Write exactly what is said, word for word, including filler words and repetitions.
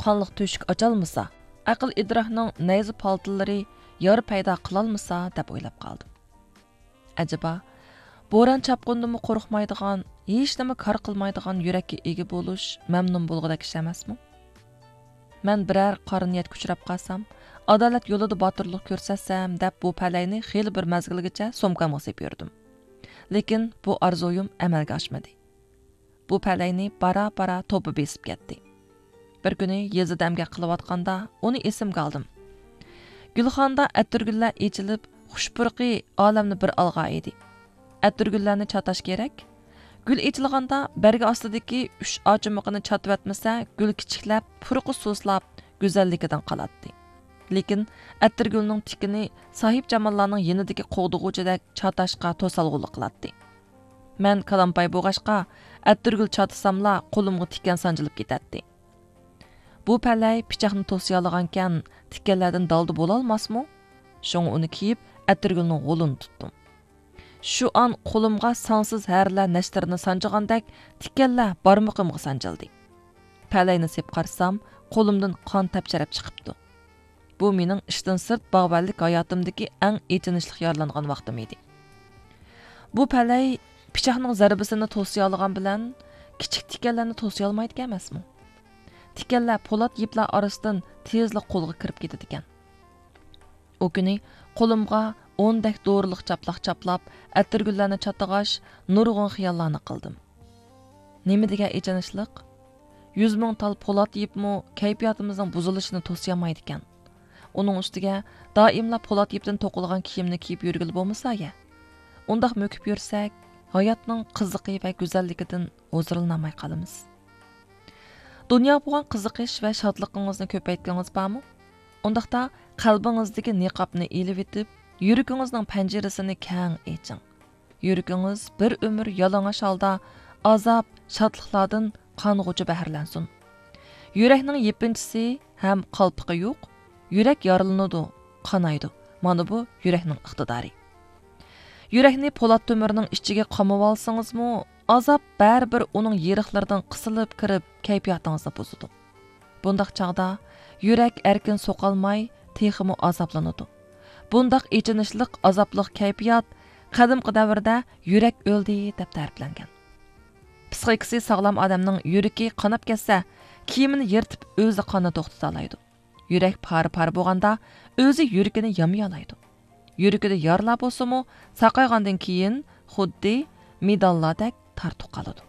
قانلىق تۆشۈك ئاچالمىسا، ئەقىل ئىدراكنىڭ نەيزە پالتىلىرى يارا پەيدا قىلالمىسا دەپ ئويلاپ قالدىم. ئەجەبا، بوران چاپقۇندىنمۇ قورقمايدىغان، ھېچنېمە كار قىلمايدىغان يۈرەككە ئىگە بولۇش مەمنۇن بولغۇدەك ئىش ئەمەسمۇ؟ مەن بىرەر قارا نىيەتكە ئۇچراپ قالسام، ئادالەت يولىدا باتۇرلۇق كۆرسەتسەم دەپ بۇ پەلەينى خېلى بىر مەزگىلگىچە سومكامغا سېلىپ يۈردۈم. لېكىن بۇ ئارزۇيۇم ئەمەلگە ئاشمىدى. بۇ پەلەينى بارا-بارا توپا بېسىپ كەتتى. بىر كۈنى يېزىدا ئەمگەك قىلىۋاتقاندا ئۇنى ئېسىمگە ئالدىم. گۈلخانىدا ئەتىرگۈللەر ئېچىلىپ، خۇش پۇرىقى ئالەمنى بىر ئالغان ئىدى. ئەتىرگۈللەرنى چاتاش كېرەك. گۈل ئېچىلغاندا بەرگى ئاستىدىكى ئۈچ ئاچىمىقىنى چاتىۋەتمىسە، گۈل كىچىكلەپ، پۇرىقى سۇسلاپ، گۈزەللىكىدىن قالاتتى. لېكىن ئەتىرگۈلنىڭ تىكىنى ساھىبجاماللارنىڭ يېنىدىكى قوغدىغۇچىدەك چاتاشقا توسالغۇلۇق قىلاتتى. مەن كالامپاي بولغاچقا، ئەتىرگۈل چاتىساملا قولۇمغا تىكەن سانجىلىپ كېتەتتى. بۇ پەلەي پىچاقنى توسۇيالىغانكەن، تىكەنلەردىن دالدا بولالماسمۇ؟ شۇڭا ئۇنى كىيىپ، ئەتىرگۈلنىڭ غولىنى تۇتتۇم. شۇ ئان قولۇمغا سانسىز ھەرىلەر نەشتىرىنى سانجىغاندەك، تىكەنلەر بارمىقىمغا سانجىلدى. پەلەينى سېپ قارىسام، قولۇمدىن قان تەپچىرەپ چىقىپتۇ. بۇ مېنىڭ ئىشتىن سىرت باغۋەنلىك ھاياتىمدىكى ئەڭ ئېچىنىشلىق يارىلانغان ۋاقتىم ئىدى. بۇ پەلەي پىچاقنىڭ زەربىسىنى توسۇيالىغان بىلەن، كىچىك تىكەنلەرنى توسۇيالمايدىكەن ئەمەسمۇ؟ تىكەنلەر پولات يىپلار ئارىسىدىن تېزلا قولغا كىرىپ كېتىدىكەن. ئۇ كۈنى قولۇمغا ئوندەك دورىلىق چاپلاق چاپلاپ، ئەتىرگۈللەرنى چاتىغاچ، نۇرغۇن خىياللارنى قىلدىم. نېمە دېگەن ئېچىنىشلىق! يۈز مىڭ تال پولات يىپمۇ كەيپىياتىمىزنىڭ بۇزۇلۇشىنى توسۇيالمايدىكەن. ئۇنىڭ ئۈستىگە دائىملا پولات يىپتىن توقۇلغان كىيىمنى كىيىپ يۈرگىلى بولمىسا يە. ئۇنداق مۆكۈپ يۈرسەك، ھاياتنىڭ قىزىقى ۋە گۈزەللىكىدىن ھۇزۇرلىنالماي قالىمىز. دۇنياغا بولغان قىزىقىش ۋە شادلىقىڭىزنى كۆپەيتكۈڭىز بارمۇ؟ ئۇنداقتا قەلبىڭىزدىكى نىقابنى ئېلىۋېتىپ، يۈرىكىڭىزنىڭ پەنجىرىسىنى كەڭ ئېچىڭ. يۈرىكىڭىز بىر ئۆمۈر يالىڭاچ ھالدا ئازاب، شادلىقلاردىن قانغۇچە بەھرىلەنسۇن. يۈرەكنىڭ يېپىنچىسى ھەم قالپىقى يوق. يۈرەك يارىلىنىدۇ، قانايدۇ. مانا بۇ يۈرەكنىڭ ئىقتىدارى. يۈرەكنى پولات تۆمۈرنىڭ ئىچىگە قامىۋالسىڭىزمۇ، ئازاب بەرىبىر ئۇنىڭ يېرىقلىرىدىن قىسىلىپ كىرىپ، كەيپىياتىڭىزنى بۇزىدۇ. بۇنداق چاغدا يۈرەك ئەركىن سوقالماي، تېخىمۇ ئازابلىنىدۇ. بۇنداق ئېچىنىشلىق، ئازابلىق كەيپىيات قەدىمكى دەۋردە يۈرەك ئۆلدى دەپ تەرىپلەنگەن. پىسخىكىسى ساغلام ئادەمنىڭ يۈرىكى قاناپ كەتسە، كىيىمىنى يىرتىپ ئۆزى قاننى توختىتالايدۇ. يۈرەك پارە-پارە بولغاندا ئۆزى يۈرىكىنى يامىيالايدۇ. يۈرىكىدە يارىلار بولسىمۇ، ساقايغاندىن كېيىن خۇددى مېداللاردەك تارتۇق قالىدۇ.